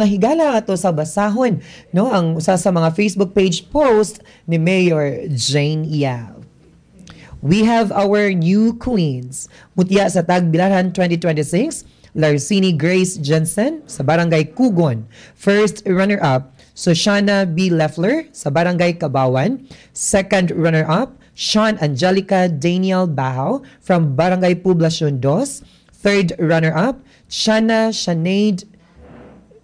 Mga higala, ato sa basahon, no, ang usa sa mga Facebook page post ni Mayor Jane Yap. We have our new queens. Mutya sa Tagbilaran 2026, Larcini Grace Jensen sa Barangay Kugon. First runner-up, Soshana B. Leffler sa Barangay Kabawan. Second runner-up, Sean Angelica Daniel Bahaw from Barangay Poblacion 2. Third runner-up, Shana Sinead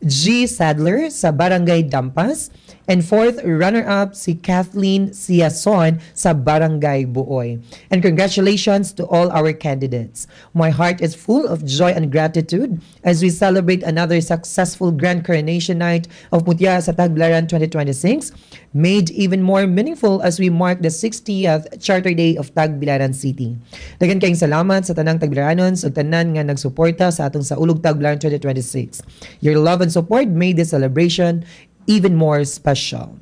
G. Sadler sa Barangay Dampas. And fourth runner-up, si Kathleen Siason sa Barangay Buoy. And congratulations to all our candidates. My heart is full of joy and gratitude as we celebrate another successful Grand Coronation Night of Mutya sa Tagbilaran 2026, made even more meaningful as we mark the 60th Charter Day of Tagbilaran City. Daghan kayong salamat sa tanang Tagbilaranon ug tanan nga nagsuporta sa atong Saulog Tagbilaran 2026. Your love and support made this celebration even more special.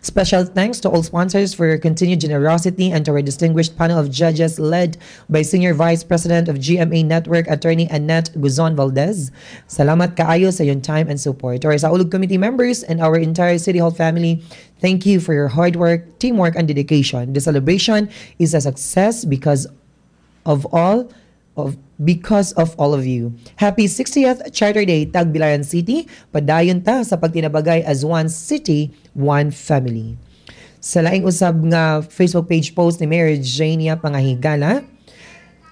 Special thanks to all sponsors for your continued generosity and to our distinguished panel of judges led by Senior Vice President of GMA Network, Attorney Annette Guzon Valdez. Salamat kaayo sa iyong time and support. To our Saulog Committee members and our entire City Hall family, thank you for your hard work, teamwork, and dedication. The celebration is a success because of all of you. Happy 60th Charter Day, Tagbilaran City. Padayon ta sa pagtinabagay as one city, one family. Sa laing usab nga Facebook page post ni Mayor Jane Yap, mga higala,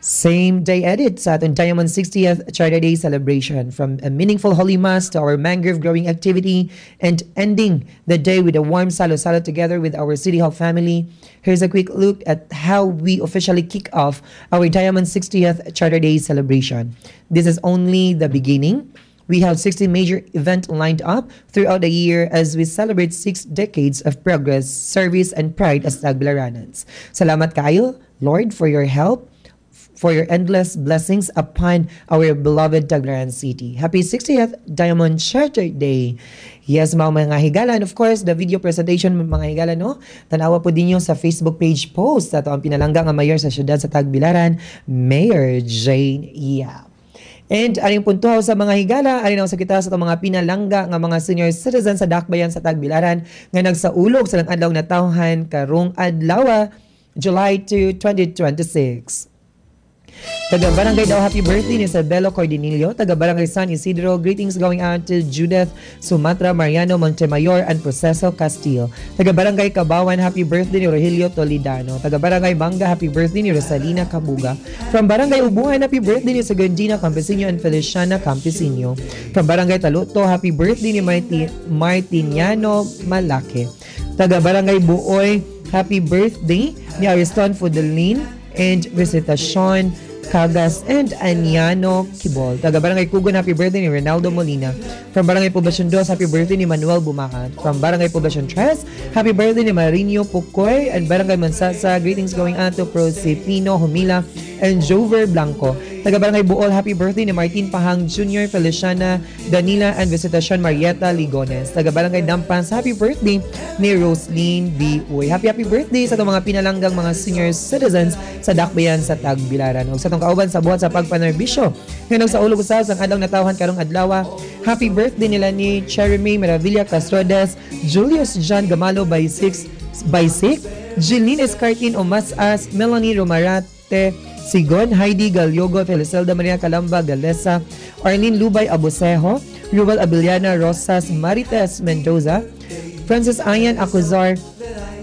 same day edit sa atong Diamond 60th Charter Day celebration, from a meaningful Holy Mass to our mangrove growing activity and ending the day with a warm salo-salo together with our City Hall family. Here's a quick look at how we officially kick off our Diamond 60th Charter Day celebration. This is only the beginning. We have 60 major events lined up throughout the year as we celebrate 6 decades of progress, service, and pride as Tagbilaranans. Salamat kayo, Lord, for your help, for your endless blessings upon our beloved Tagbilaran City. Happy 60th Diamond Charter Day. Yes, mga higala. And of course, the video presentation, mga higala, no? Tanawa po ninyo sa Facebook page post ato ang pinalangga nga mayor sa siyudad sa Tagbilaran, Mayor Jane Yap. And aning punto sa mga higala, ari na sa kita sa atong mga pinalangga nga mga senior citizens sa Dakbayan sa Tagbilaran nga nagsaulog sa adlaw natawhan karong adlaw, July 2, 2026. Taga Barangay Dao, happy birthday ni Isabelo Cordinillo. Taga Barangay San Isidro, greetings going out to Judith Sumatra, Mariano Montemayor, and Proceso Castillo. Taga Barangay Kabawan, happy birthday ni Rogelio Toledano. Taga Barangay Banga, happy birthday ni Rosalina Kabuga. From Barangay Ubuhan, happy birthday ni Segundina Campesino and Feliciana Campesino. From Barangay Taluto, happy birthday ni Martiniano Malake. Taga Barangay Buoy, happy birthday ni Ariston Fudelin and Visitacion Cagas and Aniano Kibol. Taga Barangay Kugon, happy birthday ni Ronaldo Molina. From Barangay Poblacion 2, happy birthday ni Manuel Bumakat. From Barangay Poblacion 3, happy birthday ni Marino Pukoy and Barangay Mansasa. Greetings going out to Prosepino Humila and Jover Blanco. Taga Barangay Buol, happy birthday ni Martin Pahang Jr., Feliciana Danila and Visitacion Marieta Ligones. Taga Barangay Dampas, happy birthday ni Roslyn B. Uy. Happy happy birthday sa atong mga pinalanggang mga senior citizens sa Dakbayan sa Tagbilaran. Ug sa atong kauban sa buhat sa pagpanerbisyo nga nagsaulog usaw sa adlaw natawhan karong adlaw, happy birthday nila ni Cheremy Maravilla Castrodes, Julius John Gamalo by 6 by 6, Jeline Escartin Omasas, Melanie Romarate Sigon, Heidi Galyogo, Felicelda Maria Calamba Galesa, Arlene Lubay Abosejo, Ruel Abiliana Rosas, Marites Mendoza, Francis Ayan Acuzar,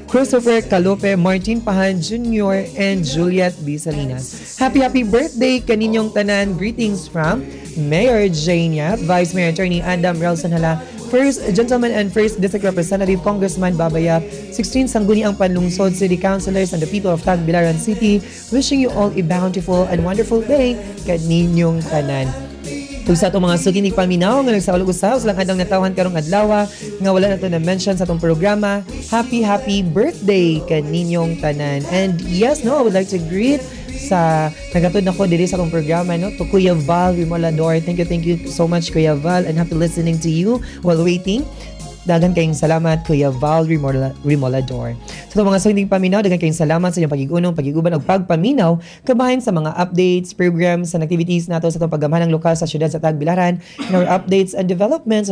Christopher Calope, Martin Pahan Jr., and Juliet B. Salinas. Happy, happy birthday kaninyong tanan. Greetings from Mayor Jane Yap, Vice Mayor Attorney Adam Relson Hala, First Gentleman and First District Representative Congressman Baba Yap, 16 Sangguniang Panlungsod City Councilors and the people of Tagbilaran City, wishing you all a bountiful and wonderful day kaninyong tanan. Ug sa atong mga suki paminaw nga nagsaulog usaw sa adlaw natawhan karong adlaw nga wala na to na mention sa atong programa, happy happy birthday kaninyong tanan. And yes, no, I would like to greet sa nagatod nako diri sa atong programa, no, to Kuya Val Rimolador. Thank you so much, Kuya Val, and happy listening to you while waiting. Daghan kayong salamat, Kuya Val Rimolador. Sa itong mga suking paminaw, daghan kayong salamat sa inyong pag-igunong, pag-iguban, ug pagpaminaw kabahin sa mga updates, programs, and activities nato sa itong paggamhanang lokal sa siyudad sa Tagbilaran, and our updates and developments sa